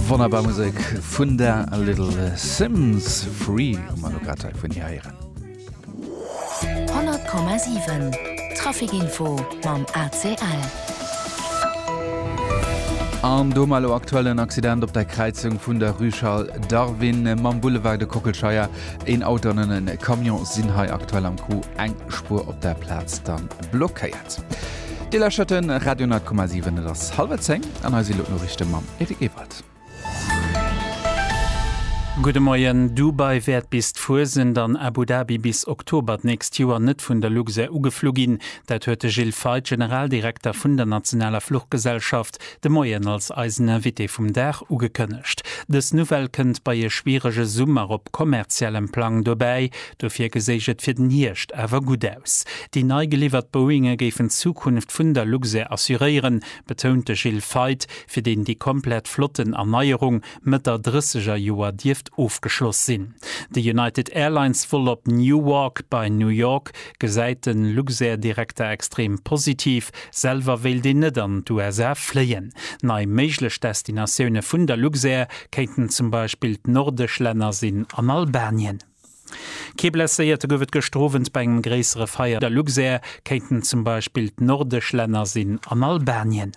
Wonnerbar Musek vun der Little Simz. Free hu mer elo grad hei vun hir héieren. 100,7 Trafic Info mam ACL. An do hu mer elo aktuell en Accident op der Kräizung vun der Rue Charles Darwin mam Boulevard de Kockelscheier. Een Auto an en Camion sinn hei aktuell am Coup, eng Spuer op der Plaz dann blockéiert. Dir lauschtert de Radio 10,7, et ass hallwer 10 an hei si lo d'Noriichte mam Eric Ewald. Gudde Moien. Dubai wäert bis d'Fuesent an Abu Dhabi bis Oktober d'nächst Joer net vun der Luxair ugeflu ginn. Dat huet de Gilles Feith, Generaldirekter vun der nationaler Fluchgesellschaft, de Moien als eisen Invité vum Dag ugekënnegt. Dës Nouvelle kënnt bei e schwierege Summer op kommerziellem Plang dobäi. Dofir geséich et fir den Hierscht awer gutt aus. Déi nei geliwwert Boeinge géifen d'Zukunft vun der Luxair assuréieren, betount de Gilles Feith, fir deen déi komplett Flottenerneierung Mëtt der drësseger Joer dierft ofgeschloss sinn. De United Airlines Vol op Newark bei New York gesäit de Luxair-Direkter extrem positiv. Selwer wéilt een net an d'USA fléien. Nei méiglech Destinatioune vun der Luxair kéinten zum Beispill d'nordesch Länner sinn an Albanien. Kee Blesséierte gouf et gëschter Owend bei engem gréissere Feier. Der Luxair kéinten zum Beispill d'nordesch Länner sinn an Albanien.